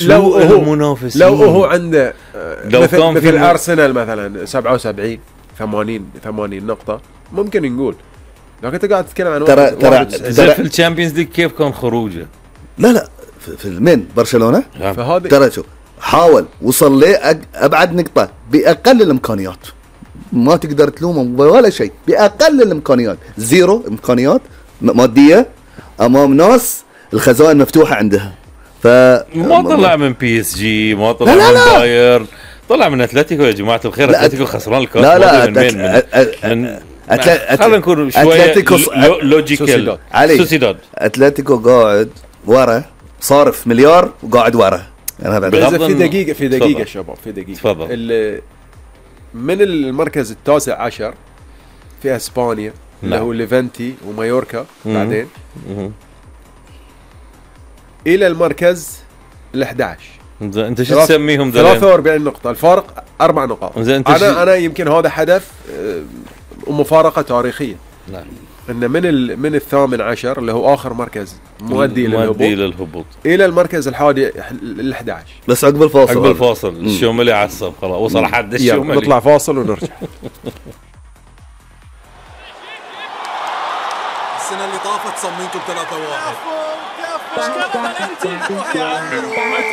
لو المنافسين لو هو عنده لو مثل أرسنال مثلا 77 80 نقطة ممكن نقول، لكن انت قاعد تتكلم عن ترى في الشامبيونز ليج كيف كان خروجه؟ لا في المين برشلونة فهذا ترى شو حاول وصل لي ابعد نقطة باقل الامكانيات، ما تقدر تلومه ولا شيء، باقل الامكانيات، زيرو امكانيات مادية امام ناس الخزائن مفتوحة عندها. ما طلع من بي اس جي، ما طلع من بايرن، طلع من اتلتيكو يا جماعة الخير. اتلتيكو خسران الكاس. خلينا نكون شوية لوجيكال. سوسيداد اتلتيكو قاعد ورا صارف مليار وقاعد ورا. في دقيقة شباب، في دقيقة تفضل. من المركز التاسع عشر في اسبانيا اللي هو ليفانتي ومايوركا بعدين الى المركز ال11. انت شو تسميهم؟ 43 نقطة، الفارق 4 نقاط. انا يمكن هذا حدث ومفارقة تاريخية. نعم. ان من الثامن عشر اللي هو اخر مركز مؤدي للهبوط الى المركز الحادي ال11. بس عقب الفاصل الشوملي عصب خلاص، وصل حد الشوملي. نطلع فاصل ونرجع. السنة اللي طافت صممتم 3-1.